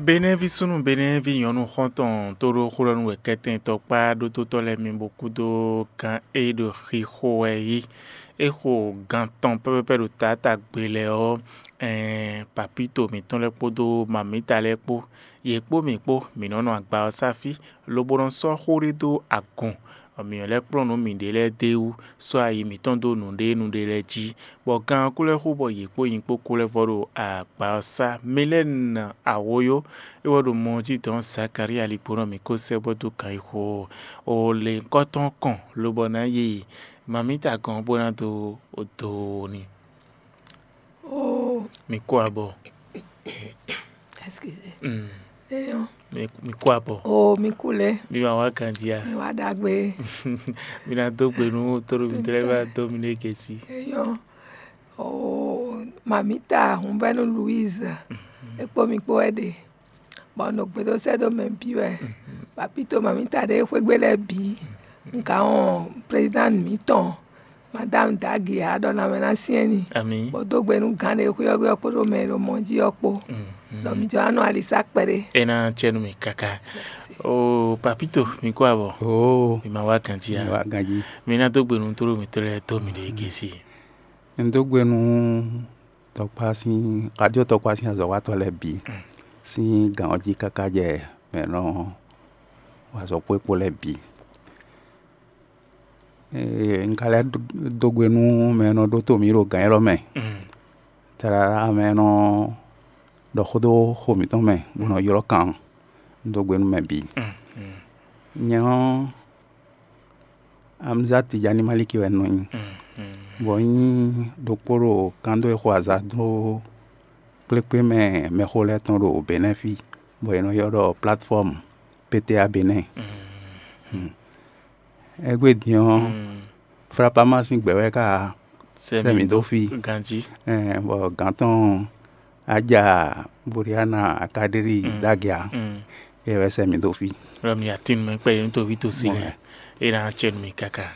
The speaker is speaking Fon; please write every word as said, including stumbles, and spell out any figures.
Benɛ́ví súnnu, Benɛ́ví nyɔ̌nu xɔ́ntɔn tóɖó xó ɖɔ nú wɛ kɛ́tɛn tɔkpá ɖótótɔ́ lɛ́ɛ mi bó kúdó gán e ɖo xixo wɛ yí. É xo gan tɔn pɛ́pɛ́pɛ́ ɖo taátagbe lɛ́ɛ ɔ́, ɛɛn, papíto mǐtɔn lɛ́ɛ kpódó mamǐta lɛ́ɛ kpó, yě kpó mǐ kpó, mǐ nɔ́ nɔ agba ɔ́ sá fí, lobo nɔ sɔ́ xó ɖé dó agun, bɔ mǐ lɛ́ kplɔ́n nǔ mǐɖée lɛ́ɛ d'é wú, sɔ́ ayi mǐtɔn dó nǔɖénúɖé lɛ́ɛ jí, bɔ gan ɔ́ kú lɛ́ xo bɔ yě kpó nyi kpó kú lɛ́ vɔ ɖo agba ɔ́ sá. Mi lɛ́ nɔ awǒyó, é wɛ ɖo mɔ jí dɔn Zakalía ligbó nɔ mǐ ko sɛ́ bɔ dó ganxixo o lěhunkɔ́tɔn kɔn, lobɔ ná yi mamíta gɔ́n bó ná dó do n'i. Oh, Mi kú abɔ. Excusez. Mm. Eyɔn. Mi, mi kú abɔ. Oh, mi kú lɛ. Mi ma wá ganjí a? Mi wá ɖagbe. Mi ná dó gbe nú tóɖó mi tlɛ va dó mi ɖe gesi. Eyɔn. Oh, mamita Humbɛnu Louise. Ekpo mi kpo wɛ ɖe. Bɔ nɔ gbeɖosɛ́ dó mɛ bǐ wɛ. Papito mamita ɖe xwégbe lɛ́ɛ bǐ. Un ka wɔn président mǐtɔn, Madame Dagi, a ɖɔ na mɛ ná syɛ́n ni. Ami. Bɔ dó gbe nú gǎn ɖe xwé ɔ́ kpódó mɛ e ɖo mɔ jí ɔ́ kpó. Ɖɔ mi jɔ wá nɔ alisa kpɛɖé. É ná cɛ nú mi káká. O papito, mi kó abɔ. Oo, Mi ma wá ganjí mi a? Wá ganjí. Mi ná dó gbe nú tóɖó mi tlɛ dó mi ɖe gesi. Un dó gbe nú tɔkpá sín radio tɔkpá sín azɔ̌watɔ́ lɛ́ɛ bǐ sín gǎn ɔ́ jí káká jɛ mɛ nɔ wa azɔ̌ kpó é kpó lɛ́ɛ bǐ. Ee, un ka lɛ́ dó gbe nú mɛ e nɔ ɖótó mǐ ɖo gǎn élɔ́ mɛ. Tlala mɛ e nɔ ɖɔ xó dó xo mǐtɔn mɛ bó nɔ ylɔ́ kan ɔ́, un dó gbe nú mɛ bǐ. Nyɛ ɔ́, Amzat Tijani Maliki wɛ un nɔ nyí, bɔ un nyí ɖokpó ɖo kan dó e xo azǎn dó kplékpé mɛ mɛxó lɛ́ɛ tɔn ɖo Benɛ́ fí, bɔ è nɔ ylɔ́ ɖɔ platfɔ́mu P T A Benɛ́. Égbé din ɔ́, Flapama sín gbɛ wɛ ká sɛ mǐ dó fí. Ganjí. Ɛɛ, bɔ gǎn tɔn Aja Boriana Akadéli Dagia, é wɛ sɛ mǐ dó fí. Ɖɔ mi atin mɛ kpɛ yě tó ví tó si lɛ, é ná cɛ nú mi káká.